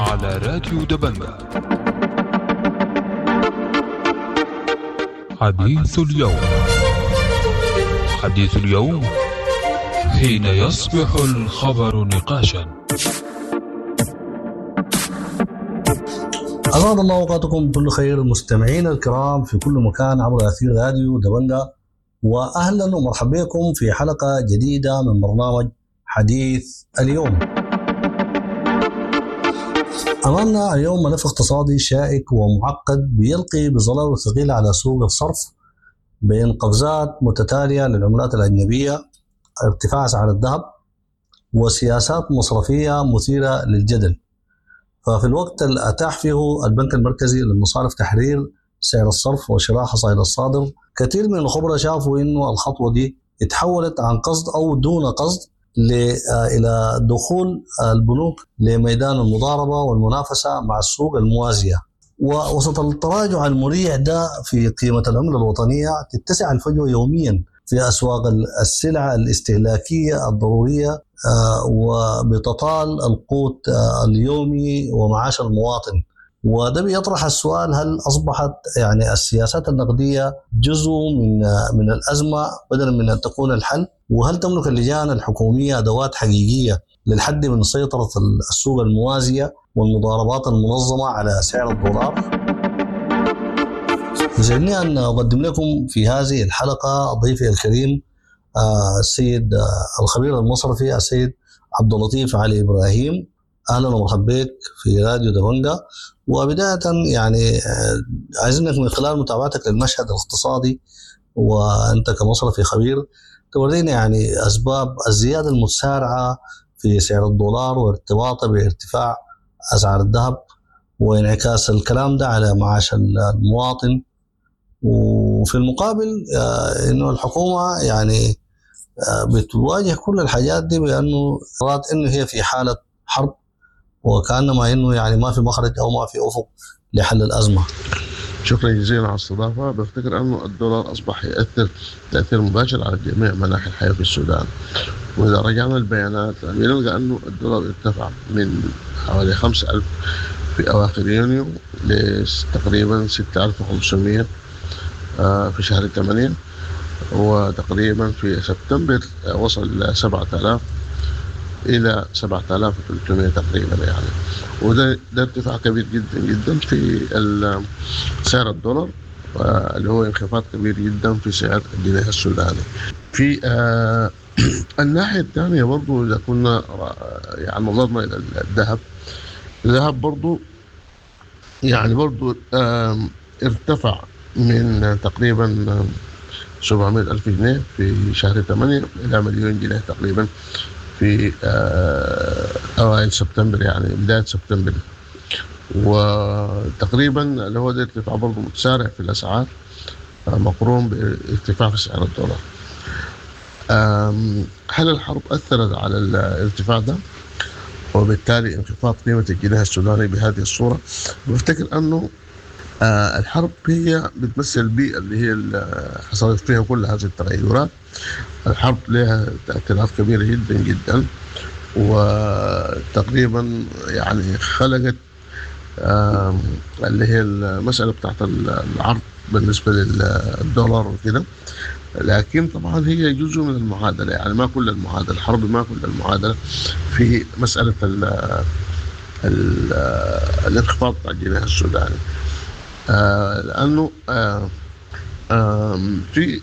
على راديو دبنجة. حديث اليوم، حديث اليوم حين يصبح الخبر نقاشا. أسعد الله أوقاتكم بكل خير مستمعينا الكرام في كل مكان عبر أثير راديو دبنجة، وأهلا ومرحبا بكم في حلقة جديدة من برنامج حديث اليوم. أمامنا اليوم ملف اقتصادي شائك ومعقد بيلقي بظلاله الثقيل على سوق الصرف بين قفزات متتالية للعملات الأجنبية، ارتفاع أسعار الذهب، وسياسات مصرفية مثيرة للجدل. ففي الوقت اللي أتاح فيه البنك المركزي للمصارف تحرير سعر الصرف وشراء حصائل الصادر، كثير من الخبراء شافوا إنه الخطوة دي اتحولت عن قصد أو دون قصد إلى دخول البنوك لميدان المضاربة والمنافسة مع السوق الموازية. ووسط التراجع المريع ده في قيمة العملة الوطنية تتسع الفجوة يوميا في أسواق السلع الاستهلاكية الضرورية، وبتطال القوت اليومي ومعاش المواطن. وده بيطرح السؤال، هل أصبحت السياسات النقدية جزء من الأزمة بدلا من أن تكون الحل؟ وهل تملك اللجان الحكومية أدوات حقيقية للحد من سيطرة السوق الموازية والمضاربات المنظمة على سعر الدولار؟ يسعدني أن أقدم لكم في هذه الحلقة ضيفي الكريم السيد الخبير المصرفي السيد عبد اللطيف علي إبراهيم. أهلا ومرحبا بك في راديو دبنجة. وبداية عايزينك من خلال متابعتك للمشهد الاقتصادي وأنت كمصرفي خبير تورينا أسباب الزيادة المتسارعة في سعر الدولار وارتباطه بارتفاع أسعار الذهب وانعكاس الكلام ده على معاش المواطن، وفي المقابل إنه الحكومة بتواجه كل الحاجات دي بأنه رأت إنه هي في حالة حرب، وكأنما إنه ما في مخرج أو ما في أفق لحل الأزمة. شكرا جزيلا على الاستضافة. بفتكر أنه الدولار أصبح يأثر تأثير مباشر على جميع مناحي الحياة في السودان، وإذا رجعنا البيانات بنلقى أنه الدولار ارتفع من حوالي 5,000 في أواخر يونيو لتقريبا 6,500 في شهر 8، وتقريبا في سبتمبر وصل 7,000 إلى 7,300 تقريبا وده ارتفاع كبير جدا جدا في سعر الدولار، اللي هو انخفاض كبير جدا في سعر الجنيه السوداني. في الناحية الثانية برضو إذا كنا نظرنا إلى الذهب، الذهب برضو ارتفع من تقريبا 700,000 جنيه في شهر 8 إلى 1,000,000 جنيه تقريبا في أوائل سبتمبر، يعني بداية سبتمبر. وتقريبا اللي هو ده ارتفاع برضه متسارع في الأسعار، مقرون بارتفاع في سعر الدولار. هل الحرب أثرت على الارتفاع ده وبالتالي انخفاض قيمة الجنيه السوداني بهذه الصورة؟ بفتكر أنه الحرب هي بتمثل البيئة اللي هي حصلت فيها كل هذه التغيرات. الحرب لها تأثيرات كبيرة جدا جدا، وتقريبا خلقت اللي هي المسألة بتاعت العرض بالنسبة للدولار وكده. لكن طبعا هي جزء من المعادلة، ما كل المعادلة، الحرب ما كل المعادلة في مسألة الانخفاض بتاع الجنيه السوداني، لأنه في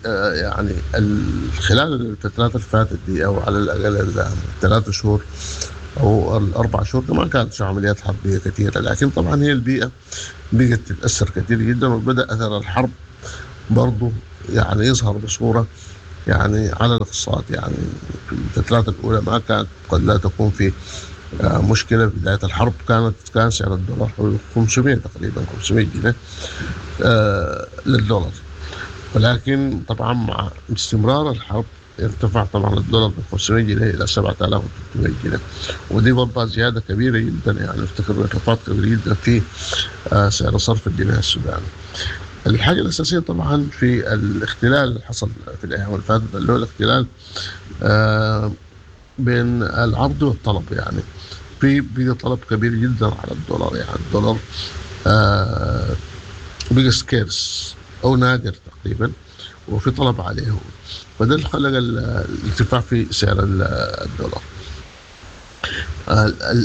خلال الفترات اللي فاتت دي أو على الأقل الثلاث شهور أو الأربع شهور ما كانت في عمليات حربية كثيرة، لكن طبعا هي البيئة بقت تتأثر كثير جدا، وبدأ أثر الحرب برضو يظهر بصورة على الاقتصاد. في الفترات الأولى ما كانت قد لا تكون في مشكلة. في بداية الحرب كان سعر الدولار حوالي 500 تقريبا، 500 جنيه للدولار، ولكن طبعا مع استمرار الحرب ارتفع طبعا الدولار من 500 جنيه إلى 7300 جنيه، ودي برضه زيادة كبيرة جدا، افتكر انخفاض كبير جدا في سعر صرف الجنيه السوداني. الحاجة الأساسية طبعا في الاختلال اللي حصل في الأيام اللي فاتت، اللي هو الاختلال بين العرض والطلب. في بقى طلب كبير جدا على الدولار، يعني الدولار بقى scarce او نادر تقريبا، وفي طلب عليه، فده اللي خلق الارتفاع في سعر الدولار.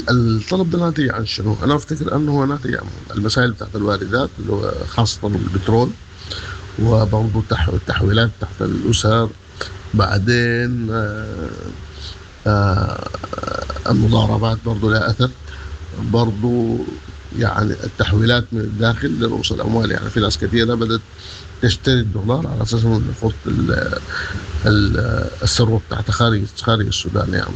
الطلب ده ناتج عن شنو؟ انا افتكر انه هو ناتج عن المسائل بتاعت الواردات اللي هو خاصة البترول، وبرضه التحويلات تحت الاسر، بعدين المضاربات برضه لها اثر، برضه يعني التحويلات من الداخل لرؤوس الاموال، يعني في ناس كثيرة بدات تشتري الدولار على اساس انه يحط الثروة بتاعتها خارج السودان يعني.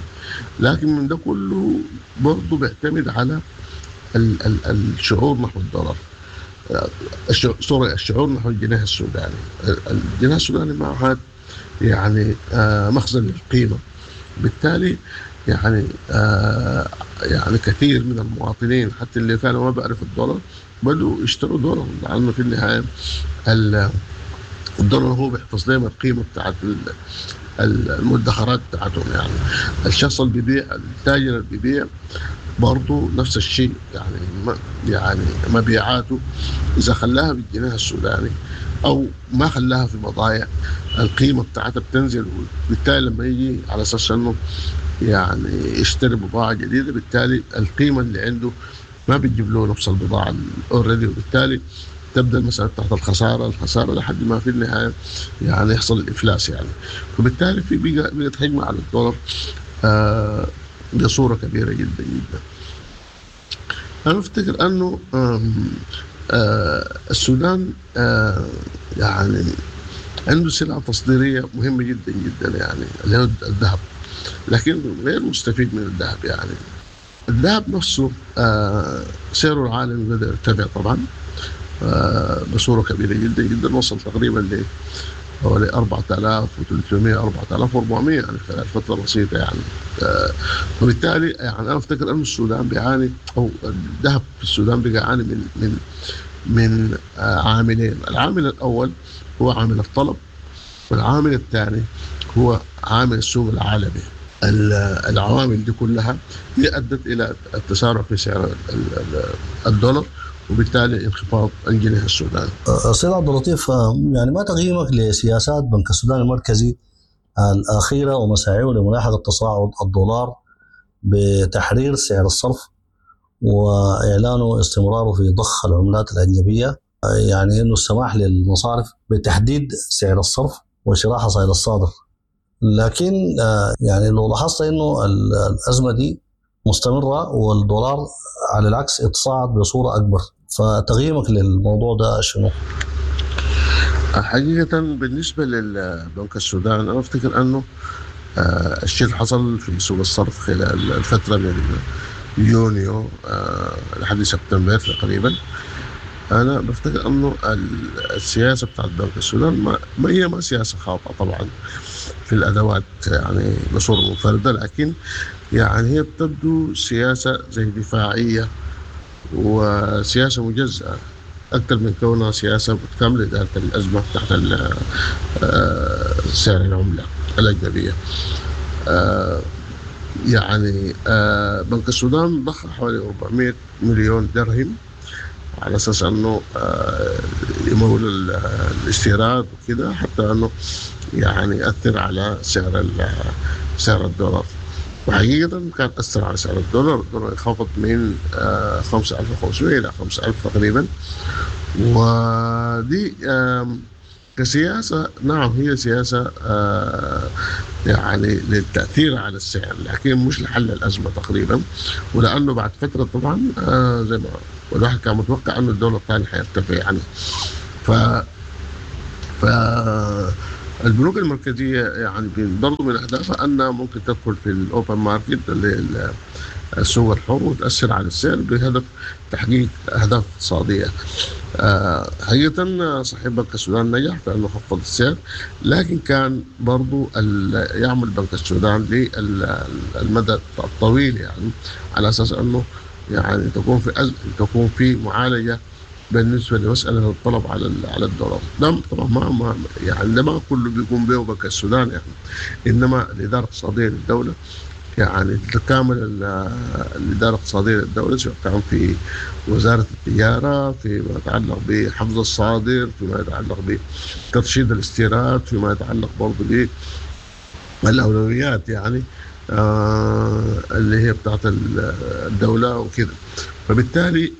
لكن من ده كله برضه بيعتمد على الشعور نحو الدولار، sorry، الشعور نحو الجنيه السوداني. الجنيه السوداني ما عاد يعني مخزن للقيمة، بالتالي يعني يعني كثير من المواطنين حتى اللي كانوا ما بيعرفوا الدولار بدوا يشتروا دولار، لانه في النهاية الدولار هو بيحفظ لهم القيمة بتاعت المدخرات بتاعتهم. يعني الشخص اللي بيبيع، التاجر اللي بيبيع برضه نفس الشيء، يعني يعني مبيعاته اذا خلاها بالجنيه السوداني او ما خلاها في بضائع القيمة بتاعتها بتنزل، وبالتالي لما يجي على اساس انه يعني يشتري بضاعة جديدة بالتالي القيمة اللي عنده ما بتجيب له نفس البضاعة already، وبالتالي تبدا المسالة تحت الخسارة لحد ما في النهاية يعني يحصل الافلاس يعني. فبالتالي في بقت هجمة على الدولار بصورة كبيرة جدا جدا. انا افتكر انه السودان يعني عنده سلعه تصديريه مهمة جدا جدا، يعني اللي هو الذهب، لكن غير مستفيد من الذهب. يعني الذهب نفسه سعره العالمي بدا يرتفع طبعا بصورة كبيرة جدا جدا، وصل تقريبا ل حوالي 4300 4400 يعني خلال فترة بسيطة يعني. وبالتالي يعني انا افتكر ان السودان بيعاني، او الذهب في السودان بيعاني من عاملين. العامل الاول هو عامل الطلب، والعامل الثاني هو عامل السوق العالمي. العوامل دي كلها هي ادت الى التسارع في سعر الدولار، وبالتالي انخفاض الجنيه السوداني. سيد عبد اللطيف، يعني ما تقييمك لسياسات بنك السودان المركزي الأخيرة ومساعيه لملاحقة تصاعد الدولار بتحرير سعر الصرف وإعلانه استمراره في ضخ العملات الأجنبية، يعني أنه السماح للمصارف بتحديد سعر الصرف وشراء حصائل الصادر؟ لكن يعني لو لاحظت أنه الأزمة دي مستمرة والدولار على العكس اتصاعد بصورة أكبر، فتقييمك للموضوع ده شنو؟ حقيقة بالنسبة للبنك السودان أنا أفتكر أنه الشيء اللي حصل في سوق الصرف خلال الفترة من يونيو لحد سبتمبر تقريبا، أنا بفتكر أنه السياسة بتاعت بنك السودان ما هي ما سياسة خاطئة طبعا في الأدوات يعني بصورة منفردة، لكن يعني هي بتبدو سياسة زي دفاعية وسياسة مجزأة أكثر من كونها سياسة متكاملة لإدارة الأزمة تحت سعر العملة الأجنبية. يعني بنك السودان ضخ حوالي 400 مليون درهم على أساس أنه يمول الاستيراد وكده، حتى أنه يعني يأثر على سعر الدولار. وحقيقة كان أثر على سعر الدولار، الدولار انخفض من 5500 إلى 5000 تقريبا. ودي كسياسة، نعم هي سياسة يعني للتأثير على السعر، لكن مش لحل الأزمة تقريبا. ولأنه بعد فترة طبعا زي ما الواحد كان متوقع أنه الدولار الثاني حيرتفع يعني. ف البنوك المركزية يعني برضو من أهدافها أنها ممكن تدخل في ال open market اللي السوق الحر وتأثر على السعر بهدف تحقيق أهداف اقتصادية. حقيقة صحيح بنك السودان نجح في أنه خفض السعر، لكن كان برضو يعمل بنك السودان للمدى الطويل يعني على أساس أنه يعني تكون في معالجة بالنسبة لمسالة الطلب على الدولار. ده طبعا ما يعني ده ما كله بيقوم به بنك السودان يعني، انما الادارة الاقتصادية للدولة يعني تتكامل الإدارة الاقتصادية للدولة، سواء كان في وزارة التجارة، فيما يتعلق بحفظ الصادر، فيما يتعلق بترشيد الاستيراد، فيما يتعلق برضه بالأولويات يعني اللي هي بتاعت الدولة وكده. فبالتالي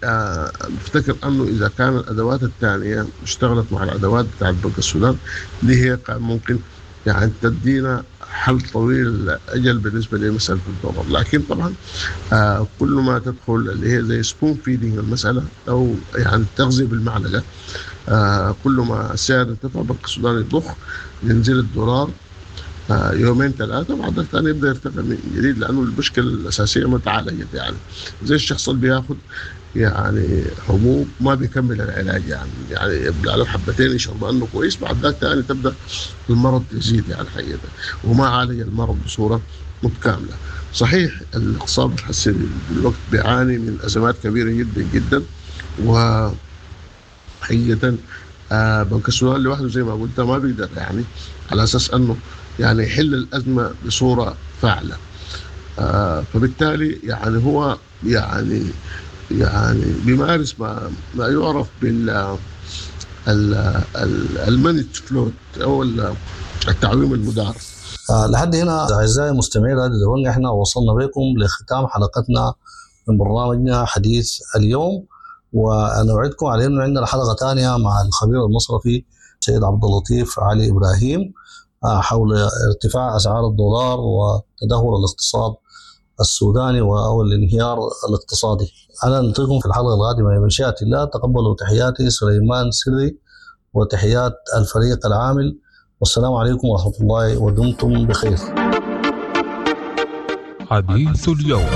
بفتكر أنه إذا كان الأدوات الثانية اشتغلت مع الأدوات بتاعت بنك السودان دي، هي كان ممكن يعني تدينا حل طويل الأجل بالنسبة لمسألة الدولار. لكن طبعا كل ما تدخل اللي هي زي spoon feeding المسألة، أو يعني التغذية بالمعلقة، كل ما السعر ارتفع بنك السودان يضخ، ينزل الدولار يومين ثلاثة، بعد ثاني يبدأ يرتفع من جديد، لأنه المشكلة الأساسية ما تعالجت. يعني زي الشخص اللي بياخد يعني حبوب ما بيكمل العلاج، يعني يبلع له حبتين يشرب انه كويس، بعد ذاك ثاني تبدا المرض يزيد يعني حقيقة، وما عالج المرض بصورة متكاملة. صحيح الاقتصاد الحسي بالوقت بيعاني من ازمات كبيرة جدا جدا، وحقيقة بنك السودان لوحده زي ما قلت ما بيقدر يعني على اساس انه يعني يحل الازمة بصورة فاعله. فبالتالي يعني هو يعني بيمارس ما يعرف بال ال managed float او التعويم المدار. لحد هنا اعزائي المستمعين راديو دبنجا، احنا وصلنا بكم لختام حلقتنا من برنامجنا حديث اليوم، ونوعدكم على انه عندنا حلقة ثانية مع الخبير المصرفي سيد عبد اللطيف علي ابراهيم حول ارتفاع اسعار الدولار وتدهور الاقتصاد السوداني او الانهيار الاقتصادي. انا نلقيكم في الحلقة القادمة بمشيئة الله. تقبلوا تحياتي سليمان سري وتحيات الفريق العامل، والسلام عليكم ورحمة الله، ودمتم بخير. حديث اليوم،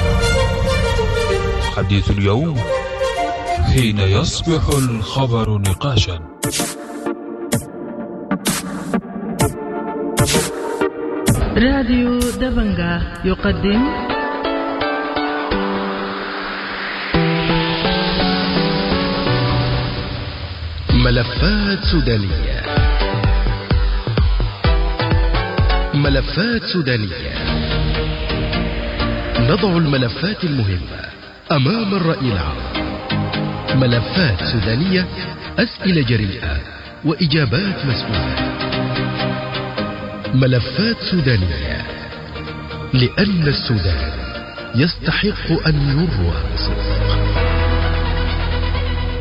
حديث اليوم حين يصبح الخبر نقاشا. راديو دبنجا يقدم ملفات سودانية. ملفات سودانية، نضع الملفات المهمة أمام الرأي العام. ملفات سودانية، أسئلة جريئة وإجابات مسؤولة. ملفات سودانية، لأن السودان يستحق أن يروى بصدق.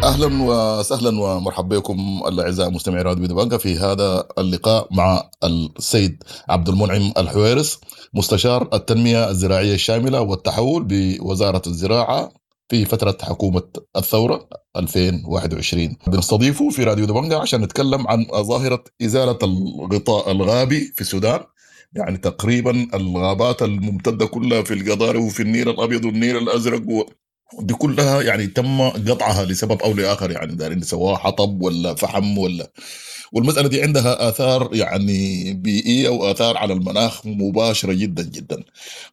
اهلا وسهلا ومرحبا بكم الاعزاء مستمعي راديو دبنجا في هذا اللقاء مع السيد عبد المنعم الحويرس، مستشار التنمية الزراعية الشاملة والتحول بوزارة الزراعة في فترة حكومة الثورة 2021. بنستضيفه في راديو دبنجا عشان نتكلم عن ظاهره ازالة الغطاء الغابي في السودان، يعني تقريبا الغابات الممتدة كلها في القضارف وفي النيل الابيض والنيل الازرق دي كلها يعني تم قطعها لسبب او لاخر، يعني دارين سواء حطب ولا فحم ولا، والمسالة دي عندها اثار يعني بيئية واثار على المناخ مباشرة جدا جدا.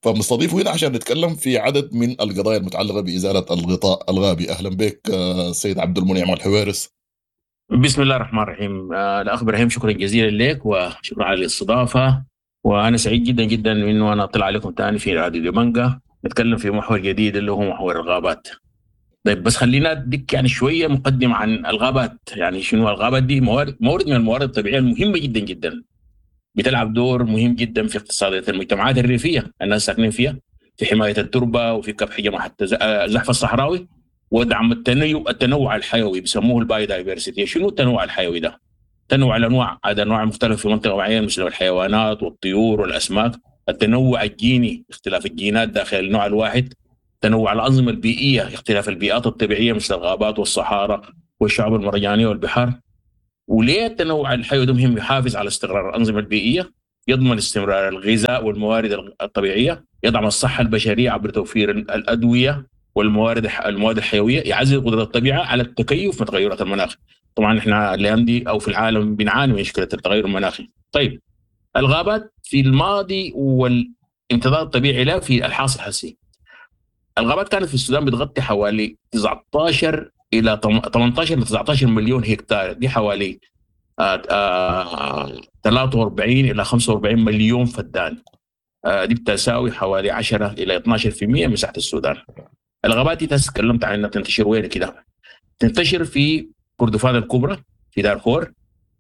فبنستضيفه هنا عشان نتكلم في عدد من القضايا المتعلقة بازالة الغطاء الغابي. اهلا بك سيد عبد المنعم الحويرس. بسم الله الرحمن الرحيم. الاخ ابراهيم شكرا جزيلا لك وشكرا على الاستضافة، وانا سعيد جدا جدا انه انا اطلع عليكم ثاني في راديو دبنجا نتكلم في محور جديد اللي هو محور الغابات. طيب بس خلينا اديك يعني شوية مقدمه عن الغابات. يعني شنو الغابات دي؟ مورد من الموارد الطبيعية المهمة جدا جدا، بتلعب دور مهم جدا في اقتصادية المجتمعات الريفية الناس ساكنين فيها، في حماية التربة وفي كبح جماحة الزحف الصحراوي ودعم التنوع الحيوي، بيسموه ال biodiversity. شنو التنوع الحيوي ده؟ تنوع الانواع، هذا انواع مختلفة في منطقة معينة مثل الحيوانات والطيور والاسماك. التنوع الجيني، اختلاف الجينات داخل النوع الواحد. تنوع الأنظمة البيئية، اختلاف البيئات الطبيعية مثل الغابات والصحارى والشعاب المرجانية والبحار. وليه التنوع الحيوي ده مهم؟ يحافظ على استقرار الأنظمة البيئية، يضمن استمرار الغذاء والموارد الطبيعية، يدعم الصحة البشرية عبر توفير الأدوية والموارد المواد الحيوية، يعزز قدرة الطبيعة على التكيف مع تغيرات المناخ. طبعا احنا الأيام دي أو في العالم بنعاني من مشكلة التغير المناخي. طيب الغابات في الماضي والامتداد الطبيعي لها في الحاصل الحسي. الغابات كانت في السودان بتغطي حوالي 19 الى 18 ل 19 مليون هكتار، دي حوالي 43 الى 45 مليون فدان. دي بتساوي حوالي 10 إلى 12% من مساحة السودان. الغابات دي تكلمت عن انها تنتشر وين كده؟ تنتشر في كردفان الكبرى، في دارفور،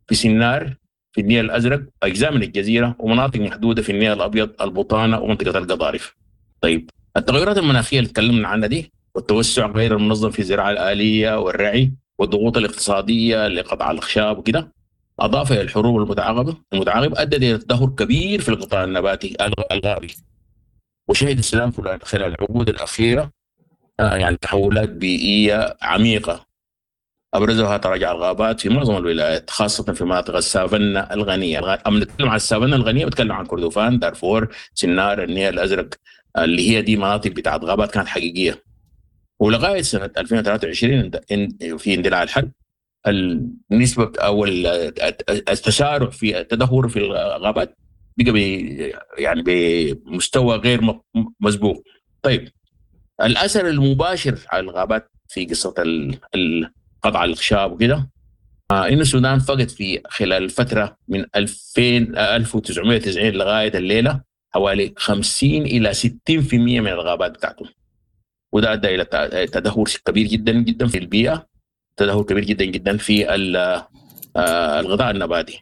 في سنار، في النيل الازرق، اجزاء من الجزيرة، ومناطق محدودة في النيل الابيض، البطانة، ومنطقة القضارف. طيب التغيرات المناخية اللي تكلمنا عنها دي، والتوسع غير المنظم في الزراعة الالية والرعي، والضغوط الاقتصادية لقطع الاخشاب وكده، اضافه الى الحروب المتعاقبة ادت الى تدهور كبير في القطاع النباتي الغابي. وشهد السودان خلال العقود الاخيرة يعني تحولات بيئية عميقة، ابرزها تراجع الغابات في معظم الولايات، خاصة في مناطق السافنة الغنية. اما نتكلم عن السافنة الغنية بتكلم عن كردفان، دارفور، سنار، النيل الازرق، اللي هي دي مناطق بتاعت غابات كانت حقيقية. ولغاية سنة 2023 في اندلاع الحرب، النسبة او التسارع في التدهور في الغابات بقى يعني بمستوى غير مسبوق. طيب الاثر المباشر على الغابات في قصة قطع الاخشاب وكده، انه السودان فقد في خلال الفترة من 1990 لغاية الليلة حوالي 50 الى 60% من الغابات بتاعته، وده ادى الى تدهور كبير جدا جدا في البيئة، تدهور كبير جدا جدا في الغطاء النباتي.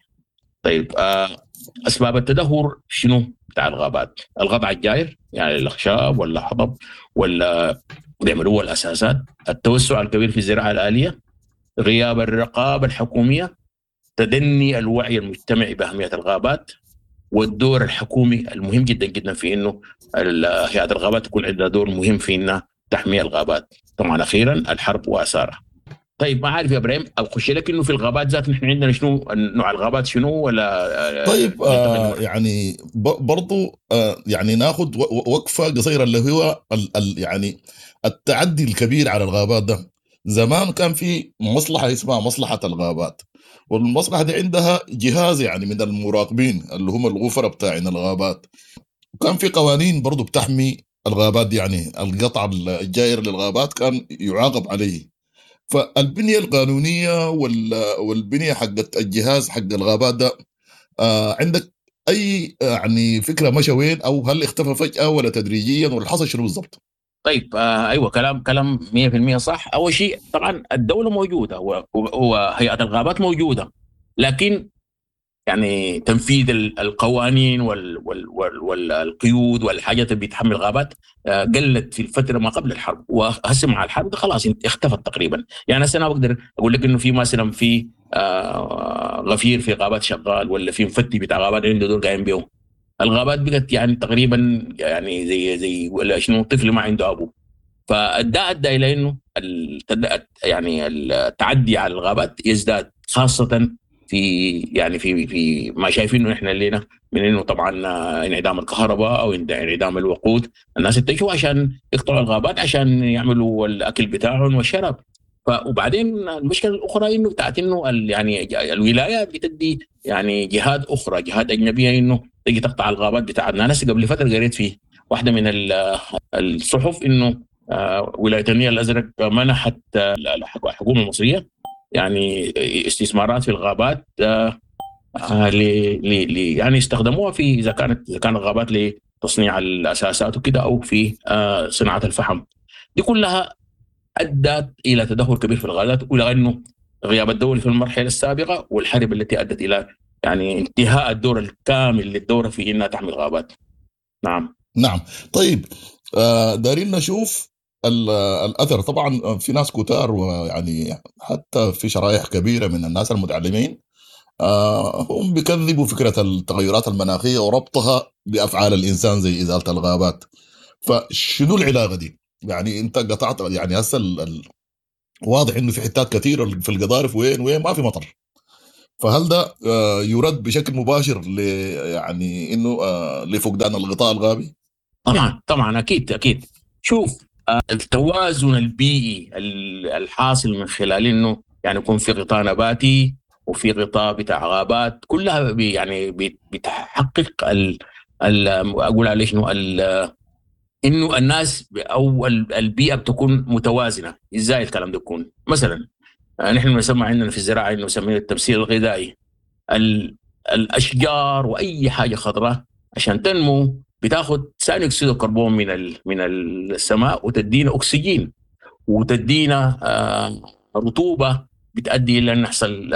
طيب اسباب التدهور شنو بتاع الغابات؟ القطع الجائر، يعني الاخشاب ولا حطب ولا بيعملوه الاساسات، التوسع الكبير في الزراعة الالية، غياب الرقابة الحكومية، تدني الوعي المجتمعي باهمية الغابات، والدور الحكومي المهم جدا جدا في انه هيئة الغابات تكون عندها دور مهم في انها تحمي الغابات. طبعا اخيرا الحرب واثارها. طيب ما عارف يا ابراهيم اخش لك انه في الغابات ذات نحن عندنا شنو نوع الغابات شنو ولا؟ طيب يعني برضو يعني ناخذ وقفه قصيرة اللي هو يعني التعدي الكبير على الغابات ده. زمان كان في مصلحة اسمها مصلحة الغابات، والمصلحة دي عندها جهاز يعني من المراقبين اللي هم الغفره بتاعين الغابات، وكان في قوانين برضو بتحمي الغابات دي، يعني القطع الجائر للغابات كان يعاقب عليه. فالبنية القانونية والبنية حقت الجهاز حق الغابات ده، عندك أي يعني فكرة مشى وين، أو هل اختفى فجأة ولا تدريجيا، ولا حصل شنو بالضبط؟ طيب أيوة كلام 100% صح. أول شيء طبعا الدولة موجودة وهيئة الغابات موجودة، لكن يعني تنفيذ القوانين والقيود والحاجات اللي بتحمل الغابات قلت في الفترة ما قبل الحرب، وهسه مع الحرب خلاص اختفت تقريبا. يعني هسه انا بقدر اقول لك انه في مثلا في غفير في غابات شغال، ولا في مفتي بتاع غابات عنده دور قايم بيه. الغابات بقت يعني تقريبا يعني زي ولا شنو، طفل ما عنده ابو. فده ادى الى انه يعني التعدي على الغابات يزداد، خاصة في يعني في ما شايفينه احنا لنا من انه طبعا انعدام الكهرباء او انعدام الوقود، الناس اتجهوا عشان يقطعوا الغابات عشان يعملوا الاكل بتاعهم والشراب. وبعدين المشكلة الاخرى انه بتاعت انه يعني الولاية بتدي يعني جهات اخرى، جهات اجنبية، انه تجي تقطع الغابات بتاعتنا. انا قبل فترة قريت في واحدة من الصحف انه ولاية النيل الازرق منحت الحكومة المصرية يعني استثمارات في الغابات يعني استخدموها في اذا كانت الغابات لتصنيع الاساسات وكده، او في صناعة الفحم. دي كلها ادت الى تدهور كبير في الغابات، والى انه غياب الدولة في المرحلة السابقة والحرب التي ادت الى يعني انتهاء الدور الكامل للدورة في انها تحمي الغابات. نعم. طيب دارين نشوف الأثر. طبعا في ناس كتار، ويعني حتى في شرائح كبيرة من الناس المتعلمين هم بيكذبوا فكرة التغيرات المناخية وربطها بأفعال الإنسان زي إزالة الغابات. فشنو العلاقة دي؟ يعني أنت قطعت، يعني هسه واضح إنه في حتات كثيرة في القضارف وين ما في مطر، فهل ده يرد بشكل مباشر يعني إنه لفقدان الغطاء الغابي؟ طبعا أكيد. شوف التوازن البيئي الحاصل من خلال انه يعني يكون في غطاء نباتي وفي غطاء بتاع غابات، كلها يعني بتحقق اقول عليه شنو، انه الناس او البيئة بتكون متوازنة. ازاي الكلام ده يكون؟ مثلا نحن بنسمى عندنا في الزراعة انه نسميه التمثيل الغذائي. الاشجار واي حاجة خضراء عشان تنمو بتاخذ ثاني اكسيد الكربون من السماء وتدينا اكسجين وتدينا رطوبة بتؤدي الى ان يحصل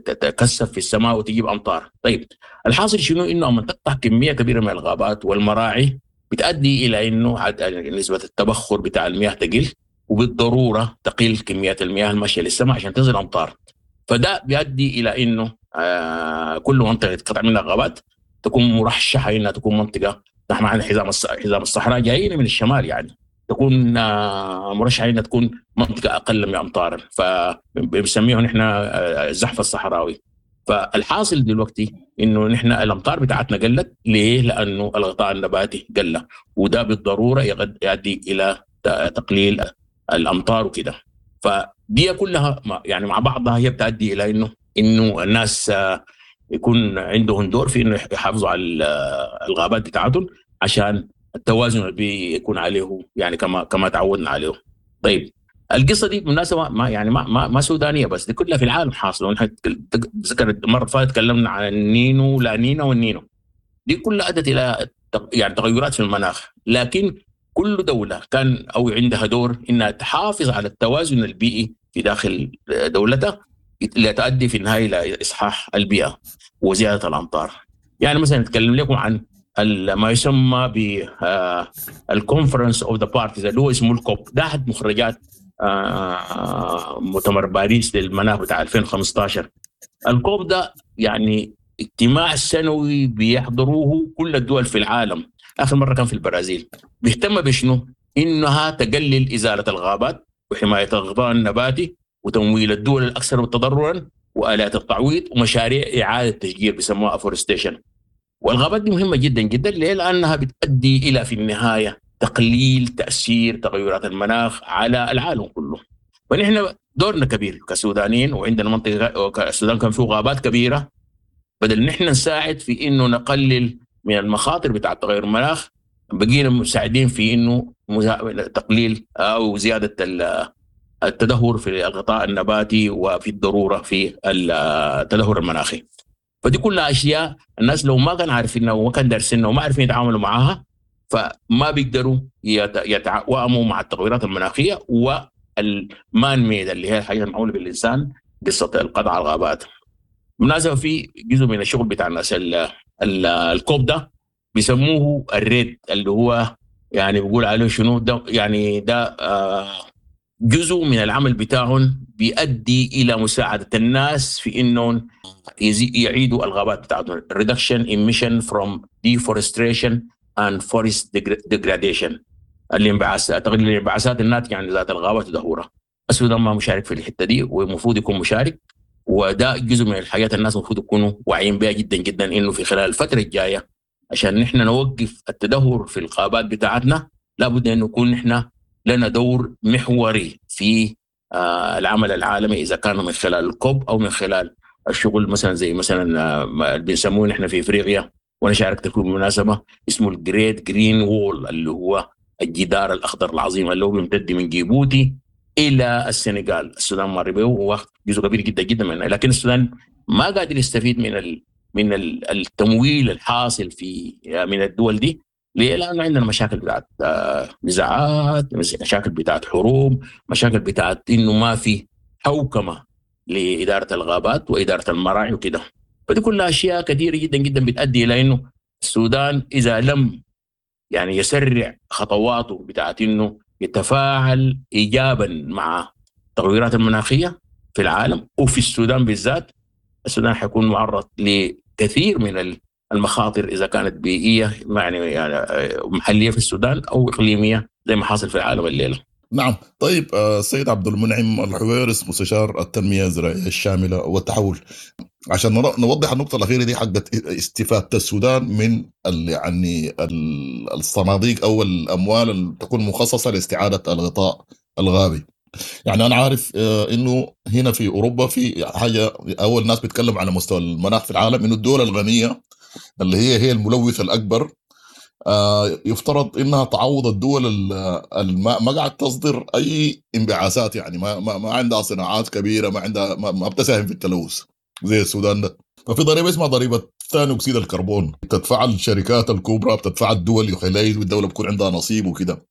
تكثف في السماء وتجيب امطار. طيب الحاصل شنو؟ انه اما تقطع كمية كبيرة من الغابات والمراعي بتؤدي الى انه نسبه التبخر بتاع المياه تقل، وبالضروره تقل كمية المياه الماشية للسماء عشان تنزل امطار. فده بيؤدي الى انه كل منطقة يتقطع منها غابات تكون مرشحة انها تكون منطقة، نحن عندنا حزام الصحراء جايين من الشمال، يعني تكون مرشحة انها تكون منطقة اقل من امطارا، فبنسميه نحن الزحف الصحراوي. فالحاصل دلوقتي انه نحن الامطار بتاعتنا قلت، ليه؟ لانه الغطاء النباتي قل، وده بالضرورة يؤدي الى تقليل الامطار وكده. فدي كلها يعني مع بعضها هي بتؤدي الى انه الناس يكون عندهم دور في انه يحافظوا على الغابات بتاعتهم عشان التوازن البيئي يكون عليه، يعني كما تعودنا عليه. طيب القصة دي بالمناسبة ما يعني ما ما, ما سودانيه بس، دي كلها في العالم حاصله. ونحن ذكرت المرة اللي فاتت تكلمنا عن النينو لا نينا والنينو، دي كلها ادت الى يعني تغيرات في المناخ. لكن كل دولة كان او عندها دور انها تحافظ على التوازن البيئي في داخل دولتها لتؤدي في النهاية الى اصحاح البيئة وزيادة الامطار. يعني مثلا نتكلم لكم عن ما يسمى ب ال Conference of the Parties اللي هو اسمه ال COP، ده احد مخرجات مؤتمر باريس للمناخ بتاع 2015. ال COP ده يعني اجتماع سنوي بيحضروه كل الدول في العالم، اخر مرة كان في البرازيل. بيهتم بشنو؟ انها تقلل ازالة الغابات وحماية الغطاء النباتي وتمويل الدول الاكثر تضررا والات التعويض ومشاريع اعاده تشجير بيسموها afforestation. والغابات دي مهمة جدا جدا، ليه؟ لانها بتؤدي الى في النهاية تقليل تاثير تغيرات المناخ على العالم كله. فنحن دورنا كبير كسودانيين، وعندنا منطقة السودان كان فيه غابات كبيرة، بدل نحن نساعد في انه نقلل من المخاطر بتاع تغير المناخ، بقينا مساعدين في انه تقليل او زيادة التدهور في الغطاء النباتي وفي الضرورة في التدهور المناخي. فدي كلها اشياء الناس لو ما كانوا عارفينها وما كانوا دارسينها وما عارفين يتعاملوا معاها، فما بيقدروا يتوائموا مع التغيرات المناخية وال man-made اللي هي الحاجة المعموله بالانسان، قصة القطع على الغابات. بالمناسبة في جزء من الشغل بتاع الناس ال COP ده بيسموه ال REDD، اللي هو يعني بيقول عليه شنو ده، يعني ده جزء من العمل بتاعهم بيؤدي الى مساعدة الناس في انهم يعيدوا الغابات بتاعتهم، reduction emission from deforestation and forest degradation، الانبعاثات، تقليل الانبعاثات الناتجة عن ازالة الغابات ودهورها. السودان ما مشارك في الحتة دي ومفروض يكون مشارك، وده جزء من الحاجات الناس المفروض يكونوا واعيين بها جدا جدا، انه في خلال الفترة الجاية عشان نحن نوقف التدهور في الغابات بتاعتنا لابد ان نكون نحن لنا دور محوري في العمل العالمي، اذا كان من خلال ال COP او من خلال الشغل مثلا زي مثلا اللي بنسموه نحن في افريقيا، وانا شاركت فيه بالمناسبة، اسمه ال Great Green Wall، اللي هو الجدار الاخضر العظيم اللي هو بيمتد من جيبوتي الى السنغال. السودان مر به وواخد جزء كبير جدا جدا منه، لكن السودان ما قادر يستفيد من التمويل الحاصل في من الدول دي. ليه؟ لانه عندنا مشاكل بتاعت نزاعات، مشاكل بتاعت حروب، مشاكل بتاعت انه ما في حوكمة لادارة الغابات واداره المراعي وكده. فدي كلها اشياء كثيرة جدا جدا بتؤدي الى انه السودان اذا لم يعني يسرع خطواته بتاعت انه يتفاعل ايجابا مع التغيرات المناخية في العالم وفي السودان بالذات، السودان حيكون معرض لكثير من المخاطر اذا كانت بيئية يعني محليه في السودان او اقليمية زي ما حاصل في العالم الليلة. نعم. طيب السيد عبد المنعم الحويرس مستشار التنمية الزراعية الشاملة والتحول، عشان نوضح النقطة الاخيرة دي حقت استفاده السودان من يعني الصناديق او الاموال اللي تكون مخصصة لاستعادة الغطاء الغابي. يعني انا عارف انه هنا في اوروبا في حاجة، اول ناس بيتكلم على مستوى المناخ في العالم انه الدول الغنية اللي هي الملوث الاكبر يفترض انها تعوض الدول ما قاعد تصدر اي انبعاثات، يعني ما عندها صناعات كبيرة، ما عندها ما بتساهم في التلوث زي السودان ده. ففي ضريبة اسمها ضريبة ثاني اكسيد الكربون، بتدفع الشركات الكبرى، بتدفع الدول، يخلي والدولة بيكون عندها نصيب وكده.